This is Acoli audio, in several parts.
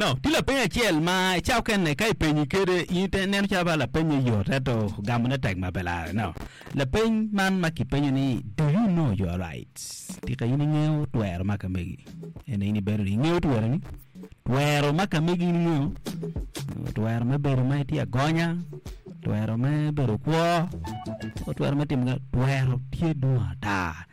No, tye lapeny acel ma i cawa okene ka ipenyi kede in ite neno calo ba lapenye yot ento gamone tek ma pe lare. No, lapeny man ma kipenyo ni do you know your rights? Tika in ingeyo twero ma ka megi? Ene in ibedo ni ingeyo tweroni? Twero ma ka megi in ingeyo? Twero me bedo ma itye agonya, twero me bedo kwo, twero me timo twero tye dwong ata.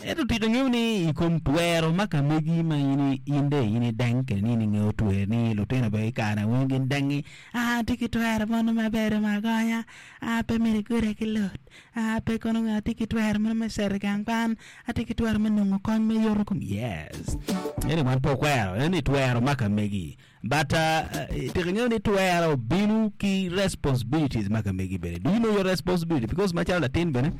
Ento tika ingeyo ni i kom twero ma ka megi ma in in dong in ideng kede ni in ingeyo twer ni lutino bene i kare weng gin dengi aa atye ki twero mono me bedo ma agonya aa pe myero iguda ki lut aa pe kono atye ki twero mono me cito i gang kwan atye ki twero me nongo kony me yoto kom yes eni wan pe okwero eni twero ma ka megi But tika ingeyo ni twero bino ki responsibilities ma ka megi bene. Do you know your responsibility? Because macalo latin bene,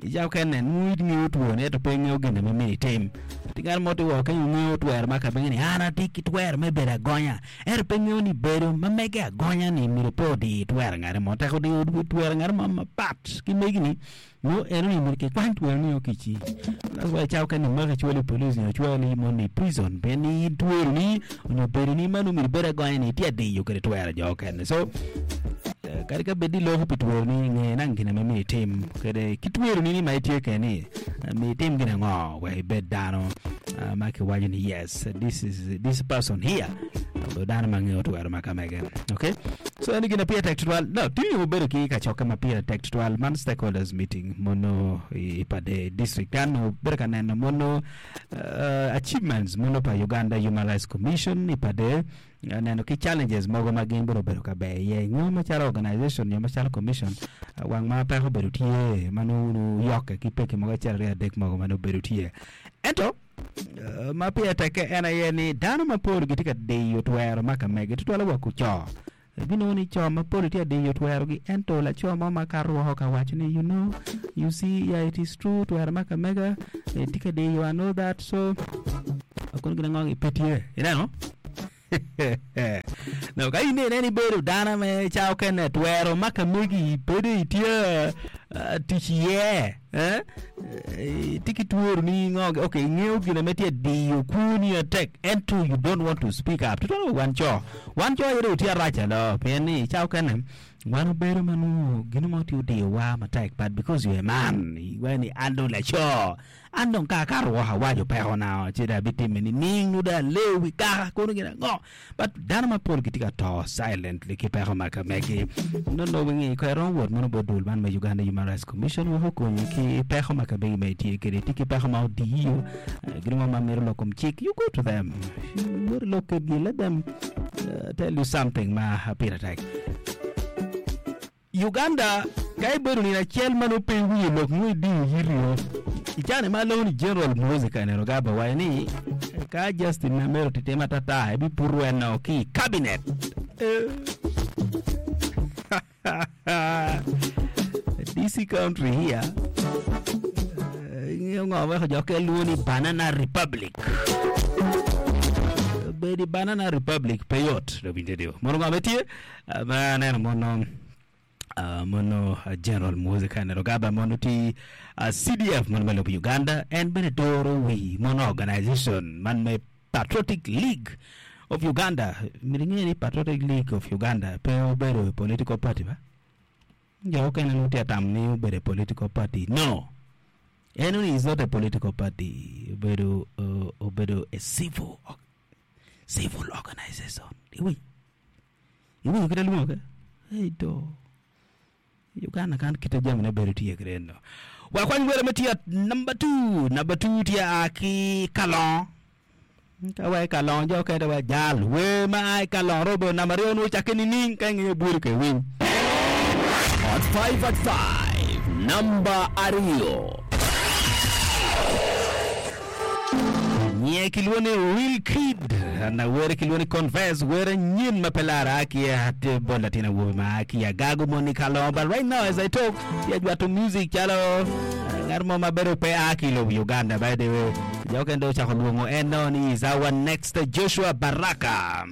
ica okene nongo ingeyo twoni ento pe ingeyo gin ma myero itim. Tye ngat mo tye woko kenyo ngeyo twero ma ka mege ni an atye ki twero me bedo agonya ento pe ngeyo ni bedo ma mege agonya ni myero pe odi twero ngat mo. Tek odiyo twero ngat mo mapat ki megi ni Nyo eno ni myero kikwany twero ni okici. That's why cawa kene maki cwali i police nyo cwali moni i prison pien ni in twero ni onyo bedo ni ma nongo myero ibed agonya ni itye adiyo kede twero jo okene. So eh, kadi ka bed ni iloko pi twero ni nge nang gin ma myero itim kede ki twero ni ni ma itye kede ni eh, myero itim gin ango wek ibed dano ah, ma kiwaco ni yes this is this person here obedo dano ma ngeyo twero ma ka mege. Okay? So eni gin ma pire tek tutwal. No, tye obedo ki kacokke ma pire tek tutwal man stakeholders meeting mono i Pader district kan obedo ka neno mono uh, achievements mono pa Uganda Human Rights Commission i Pader uh, neno ki challenges mogo ma gin bene obedo ka ber iye nyo macalo organization nyo macalo commission uh, wang ma peko obedo tye ma nongo yokke ki pekki mogo acel aryo adek mogo ma nongo obedo tye ento Ma pire tekke en aye ni dano mapol gitye ka diyo twero ma ka mege, tutwalle wa kuco. Ibinongo ni co mapol gitye ka diyo twerogi ento laco mo ma kato woko ka waco ni you know, you see, yeah it is true twero ma ka mega tye ka diyo I know that so kono gin ango pe tye ineno. Dong ka in ineno ibedo dano me ca okene twero ma ka megi bedo itye tic iye eh, itye ki twero ni ngo okay ingeyo gin ma tye diyo kwoni atek ento you don't want to speak up tutwal wa wan co wan co aye dong watye arac alo pien ni ca okene wan wabedo ma nongo gin mo tye odiyowa matek but because you a man iwaco ni an dong laco An dong ka akato woko awaco pekona ci dong abitimme nining nyo dong aleyo wi kaka kono gin ango? But dano mapol gitye ka to silently ki peko ma ka megi. Not knowing ni ko iromo wot mono bot dul man me Uganda Human Rights Commission wek okonyi ki peko ma ka megi ma itye kwede. Itye ki peko ma odiyo, gin mo ma mito lok kom cik, you go to them. Wot ilok kedgi, let them tell you something ma pire tek. Uganda, Ka ibedo nino acel ma nongo pe iwinyo lok nongo idiyo yiti o. I cani ma alongo ni General Muhoozi Kainerugaba owaco ni ka Justin Namere otitim atata ebiputo en ki i cabinet. DC country here ingeyo ngo weko jo kel lwongo ni banana republic. Bedo i banana republic pe yot. Mono ngo ma tye? Ma aneno mono mono General Muhoozi Kainerugaba mono tye CDF mono me lobo Uganda en bene doro wi mono organization man me Patriotic League of Uganda myero inge ni Patriotic League of Uganda pe obedo political party ba jo mukene nongo tye ka tamo ni obedo political party no eno ni is not a political party obedo obedo a civil civil organization iwinyo Iwinyo kit alwongo kwede? Ei do. Uganda kan kite jamine bedo tye kwede eno. Wakwany wele ma tye at number 2. Number 2 tye a ki Kalongo. Ka wa i Kalongo jo kede wa jal. Wer ma a i Kalongo robo bedo namba aryo nwo cakke nining ka ingeyo bwolo ke winy. Hot 5 at 5, namba aryo. Nyiye kilwongo ni Real Kid na were kilwongo ni Confess were nyen ma pe lara a ki at bot latin awobi ma a ki Agago moni ka longo but right now as I talk tye ajwato music calo ngat mo ma bedo pe a ki i lobo Uganda by the way jo kene dong ocako lwongo en no ni is our next Joshua Baraka.